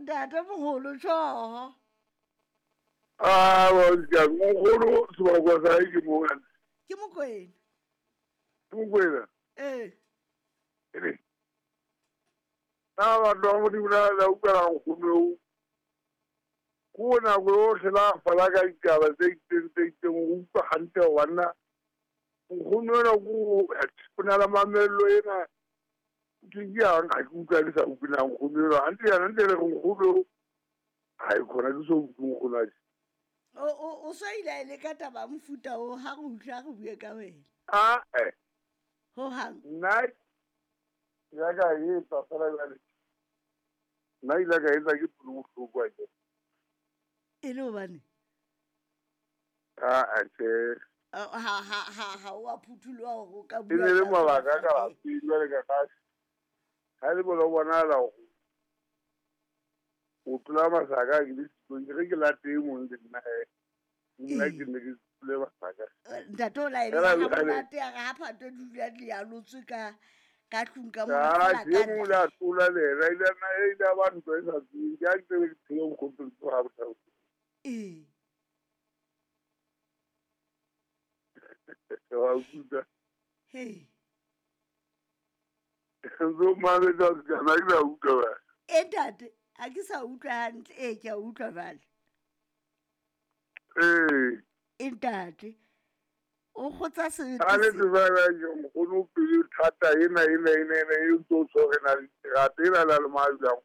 Ntate moholo tjhoho. Ah, wa nkgono sebaka sa hae ke mona. Ke Mokwena. Ke Mokwena. Ee. Ene. Na batho ba Modimo la la utlwela nkgono eo. Ko nako yohle la fala ka ditaba tse itseng tse itseng o utlwa hantle hore banna nkgono ena ko o na le mamello ena ke ke yang ha ke utlwa ke sa utlwe na nkgono ena hantle yana ntle le re nkgono eo ha e khona ke so utlwe nkgono a O so ile a e leka taba ya mofuta o ha re utlwa re bue ka wena. A eh. Ho hang. Nna ya ka e etsa fela jwale. Nna ile ka etsa ke pelo bohloko a ke. E le hobane? A a tjhe. Ha o a phuthuloha hore o ka E bua. ne le mabaka ka lapeng jwale ka ka. Ha le bona o bonahala hore o tlola masaka ke le sekolo ke re ke late e mong le nna nna ke ne ke tlole masaka. Ntate o la e Fela beha jwale- monate ya re ha Phato di dula di alotswe ka ka tlung ka mona Ah, feela ke ka e mong o ile a tlola le ena, ile a nna e ile a ba ntwa e sa tsweng. Ke ha ke tsebe ke phele nkgono ke tloha bohloko. Ee. Wa utlwa. Hei. Ntso mametse wa sekana ke sa utlwa ba. E ntate, ha ke sa utlwa hantle. Ee, ke a utlwa jwale. Ee. E ntate, o kgotsa sebete Ha le se- tseba ba ke nkgono o pelo thata ena ena ena ena e ntse o tshwere na le terata ena la le majang.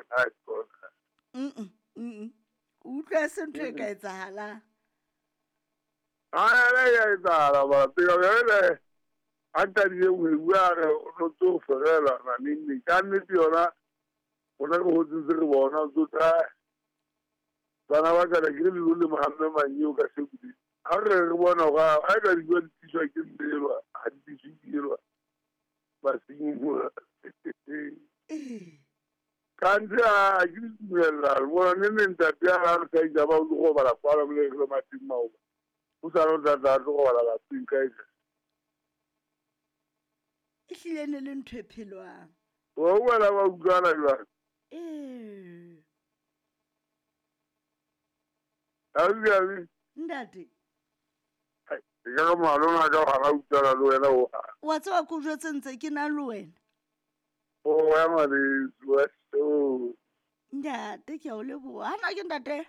Ha tsona. Mm-mm, mm-mm. O utlwa e se ntho e ka etsahalang. Ha ya etsahala ba pele jwale a ntadile ho bua re o no tso ferela na neng neng. Ka nnete yona rona re hotse ntse re bona o tso tla bana ba ka ke re le le mohamme manyeo ka sekudi. Ha re re bona hore ha ka dijo di tliswa ke mmelwa, ha di tliswe ke elwa. Basenyi mo. Kanthe ha ke di dumella, re bona ne neng ntate a re sa itsa ba o tlo robala kwala mo le re le mateng maoba. O sa re o tla tla tlo robala lapeng kae kae. E hlile ne le ntho e phelwang. Wa utlwa ba utlwana jwang? Ee. Ausi, Ntate. E ka re malome a ka hara utlwana le wena o hang. Wa tseba ke o jwetse ntse ke na le wena. O ya ngwaneso, wa so. Ntate, ke a o leboha. Hana ke ntate?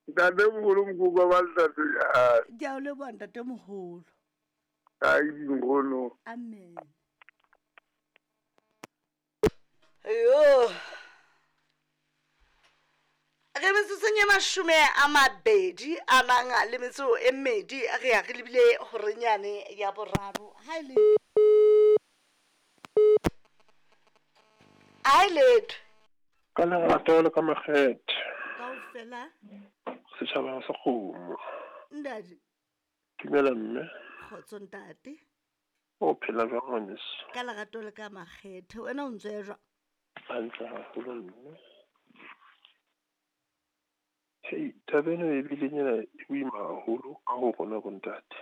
Ntate moholo mokoko ba ntate ya. Ke a o leboha ntate moholo. Ai nkgono. Amen. Yo. Re metsotsong e 22 a nang le metso e mmedi re ya re lebile horenyane ya boraro. Ha e le Ha e letho. Ka lerato le ka makgethe. Kaofela. Setjhaba sa kgomo. Ntate. Dumela mme. Kgotso ntate. O phela jwang ngwaneso? Ka lerato le ka makgethe. Wena o ntse o ya jwang? Hantle haholo mme. Hei, taba ena e bile nyana e boima haholo ka ho rona bo ntate.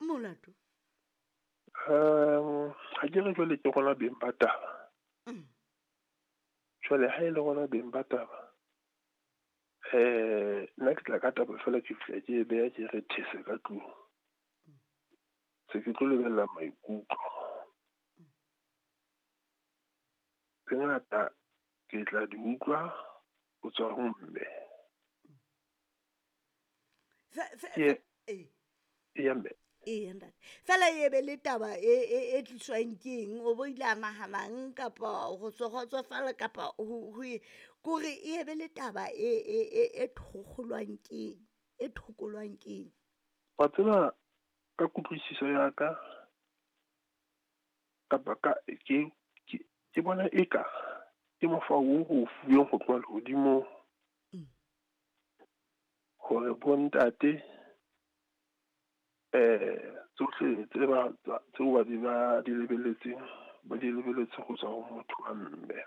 Molato? Ha ke re jwale ke rona beng ba taba. Jwale ha e le rona beng ba taba, nna ke tla ka taba fela ke fihla ke e beha ke re these ka tlung. Se ke tlo lebella maikutlo. Tse ngata ke tla di utlwa ho tswa ho mme. Ke ya mme. Ee, ntate. Fela e be le taba e tliswang ke eng? O bo ile a nahanang kapa ho tswa kgotsofala kapa ho kore e be le taba e thokgolwang ke eng? E thokolwang ke eng? Wa tseba ka kutlwisiso ya ka kapa ka ke bona eka ke mokgwa o re o fuweng ho tloha lehodimong. Hore bo ntate tsohle tse ba tseo ba di ba di lebelletseng ba di lebelletse ho tswa ho motho wa mme.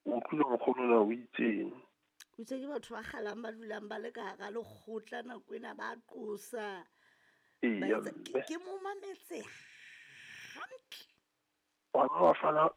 O utlwile nkgono na o itseng? O itse ke batho ba kgalang ba dulang ba le ka hara lekgotla nako ena ba qosa. Eya Ba etsa- mme. Ke mo mametse hantle. Wa ba wa fana